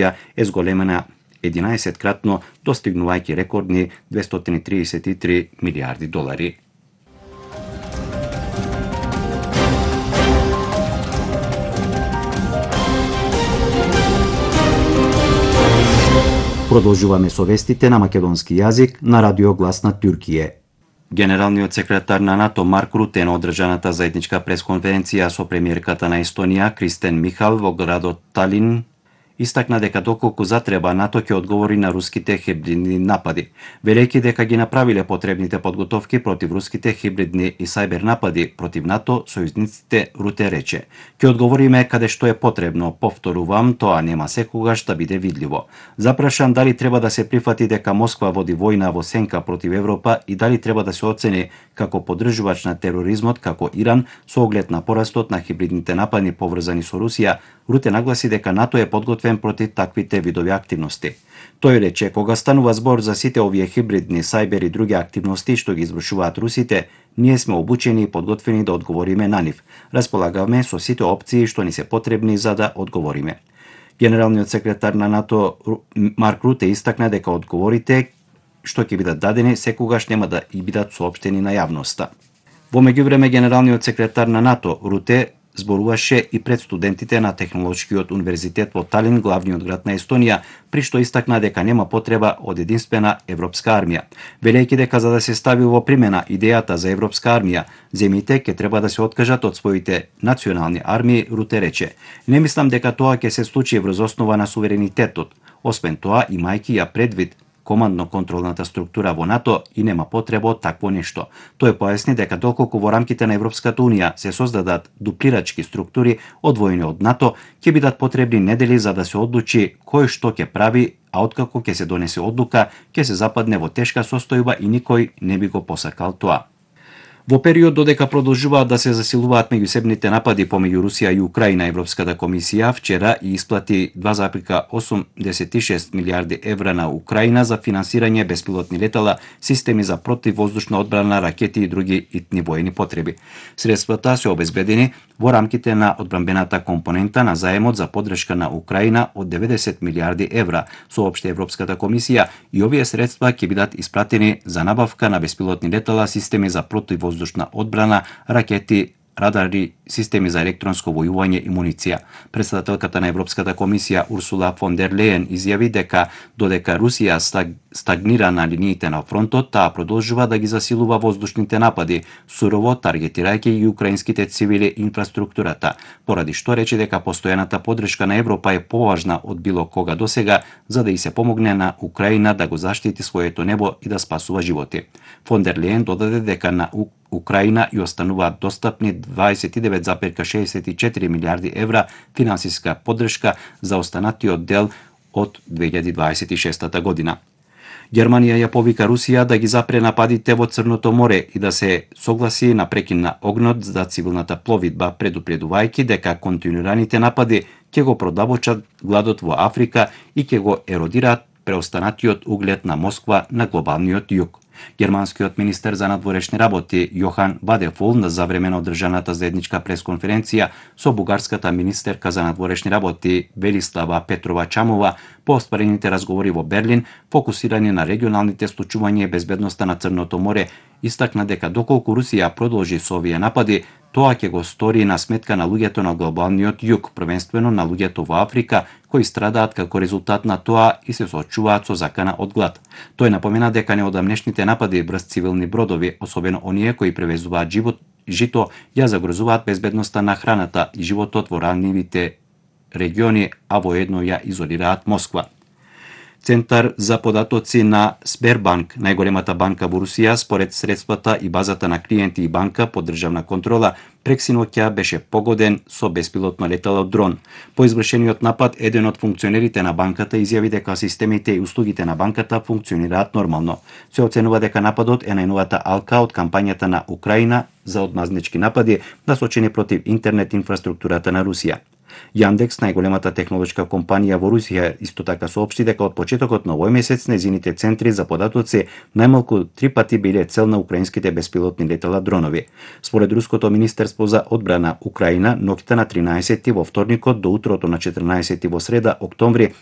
е зголемена 11-кратно, достигнувајќи рекордни 233 милијарди долари. Продолжуваме со вестите на македонски јазик на Радио Глас на Туркије. Генералниот секретар на НАТО Марк Руте на одржаната заедничка пресконференција со премиерката на Естонија Кристен Михал во градот Талин истакна дека доколку затреба НАТО ќе одговори на руските хибридни напади, велејќи дека ги направиле потребните подготовки против руските хибридни и сајбер напади против НАТО, сојузниците Руте рече: "Ќе одговориме каде што е потребно, повторувам, тоа нема секогаш да биде видливо." Запрашан дали треба да се прифати дека Москва води војна во сенка против Европа и дали треба да се оцени како поддржувач на тероризмот како Иран со оглед на порастот на хибридните напади поврзани со Русија, Руте нагласи дека НАТО е подготвен против таквите видови активности. Тој рече: "Кога станува збор за сите овие хибридни, сајбер и други активности што ги извршуваат русите, ние сме обучени и подготвени да одговориме на нив. Располагаме со сите опции што ни се потребни за да одговориме." Генералниот секретар на НАТО Марк Руте истакна дека одговорите што ќе бидат дадени секогаш нема да и бидат соопштени на јавноста. Во меѓувреме, генералниот секретар на НАТО Руте зборуваше и пред студентите на Технолошкиот универзитет во Талин, главниот град на Естонија, при што истакна дека нема потреба од единствена европска армија. Велејќи дека за да се стави во примена идејата за европска армија, земјите ќе треба да се откажат од своите национални армии, Руте рече: "Не мислам дека тоа ќе се случи врз основа на суверенитетот. Освен тоа, имајќи ја предвид командно-контролната структура во НАТО и нема потреба од такво нешто." Тој појасни дека доколку во рамките на Европската унија се создадат дуплирачки структури одвоени од НАТО, ќе бидат потребни недели за да се одлучи кој што ќе прави, а откако ќе се донесе одлука, ќе се западне во тешка состојба и никој не би го посакал тоа. Во период додека продолжуваат да се засилуваат меѓусебните напади помеѓу Русија и Украина, Европската комисија вчера и исплати 2,86 милијарди евра на Украина за финансирање беспилотни летала, системи за противвоздушна одбрана, ракети и други итни воени потреби. Средствата се обезбедени во рамките на одбранбената компонента на заемот за поддршка на Украина од 90 милијарди евра, соопшти Европската комисија, и овие средства ќе бидат испратени за набавка на беспилотни летала, системи за противвоздушна одбрана, ракети, радари, системи за електронско војување и муниција. Претседателката на Европската комисија Урсула фон дер Лејен изјави дека додека Русија стагнира на линиите на фронтот, таа продолжува да ги засилува воздушните напади, сурово таргетирајќи и украинските цивили и инфраструктурата, поради што рече дека постојаната поддршка на Европа е поважна од било кога досега за да и се помогне на Украина да го заштити своето небо и да спасува животи. Фон дер Лејен додаде дека на Украина и остануваат достапни 29,64 милијарди евра финансиска поддршка за останатиот дел од 2026 година. Германија ја повика Русија да ги запре нападите во Црното море и да се согласи на прекин на огнот за цивилната пловидба, предупредувајќи дека континуираните напади ќе го продавочат гладот во Африка и ќе го еродираат преостанатиот углед на Москва на глобалниот југ. Германскиот министер за надворешни работи Јохан Вадефул за време на одржаната заедничка пресконференција со бугарската министерка за надворешни работи Велислава Петрова Чамова по остварените разговори во Берлин, фокусирани на регионалните случувања и безбедноста на Црното море, истакна дека доколку Русија продолжи со овие напади, тоа ќе го стори на сметка на луѓето на глобалниот југ, првенствено на луѓето во Африка, кои страдаат како резултат на тоа и се соочуваат со закана од глад. Тој напомена дека неодамнешните напади врз цивилни бродови, особено оние кои превезуваат жито, ја загрозуваат безбедноста на храната и животот во ранливите региони, а воедно ја изолираат Москва. Центар за податоци на Сбербанк, најголемата банка во Русија, според средствата и базата на клиенти и банка под државна контрола, прексиноќа беше погоден со беспилотно летало дрон. По извршениот напад, еден од функционерите на банката изјави дека системите и услугите на банката функционираат нормално. Се оценува дека нападот е најновата алка од кампањата на Украина за одмазнички напади насочени против интернет инфраструктурата на Русија. Јандекс, најголемата технолошка компанија во Русија, исто така соопшти дека од почетокот на овој месец незините центри за податоци најмалку 3 пати биле цел на украинските беспилотни летала дронови. Според Руското министерство за одбрана Украина, ноќта на 13 во вторникот до утрото на 14 во среда, октомври,